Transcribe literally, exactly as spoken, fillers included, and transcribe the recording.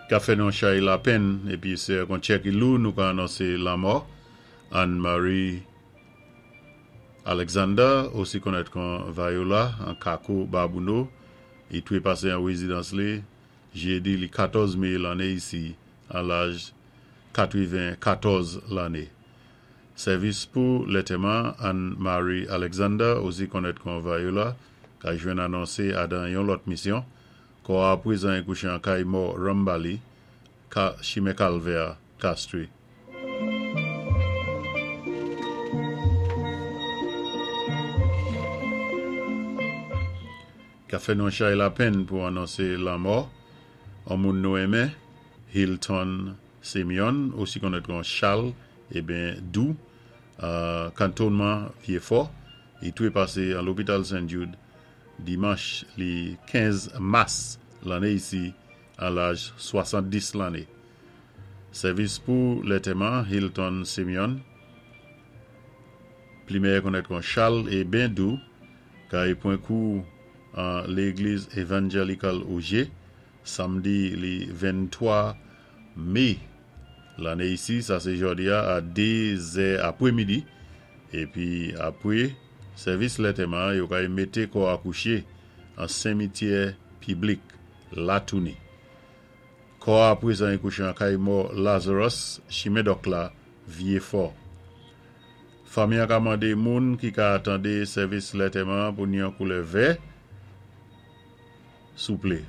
Ka fè nou chay lapenn épi sé ak yon tchè ki lou nou ka anonsé lanmò Anne-Marie Alexander, osi konnèt kon Viola, an Kako Babouno, i toué pasé an wézidans li, jédi li katòz mé lanné isi, an laj katwenn-katòz lanné. Sèvis pou lantèman Anne-Marie Alexander, osi konnèt kon Viola, ka jwenn anonsé adan yon lòt misyon, kò a pwézan kouché an kay mò Rambali, ka chimen Kalvè, Castries. Ka fè nou chay lapenn pou anonsé lanmò, an moun nou enmen, Hilton Simeon, osi konnèt kon Charles, eben Dou, euh, kantonman Vyéfò, i toué pasé an lopital Saint Jude, dimanch li kenz mas lanné isi, an laj swasanndis lanné. Sèvis pou lantèman Hilton Simeon, pli méyè konnèt kon Charles et Bendou, kay pwan kou an légliz Evangelical Auger, samdi li venntwa mé lanné isi, sa sé jòdi a, a dé zè apwémidi, épi apwé sèvis lantèman, yo kay mété kò a kouché an simityè piblik Latouni. Kò a pwézan kouché an kay mò Lazarus, chimen Dòk la, Vyéfò. Fanmi an ka mandé moun ki ka atandé sèvis lantèman pou ni an koulè vè, souplé.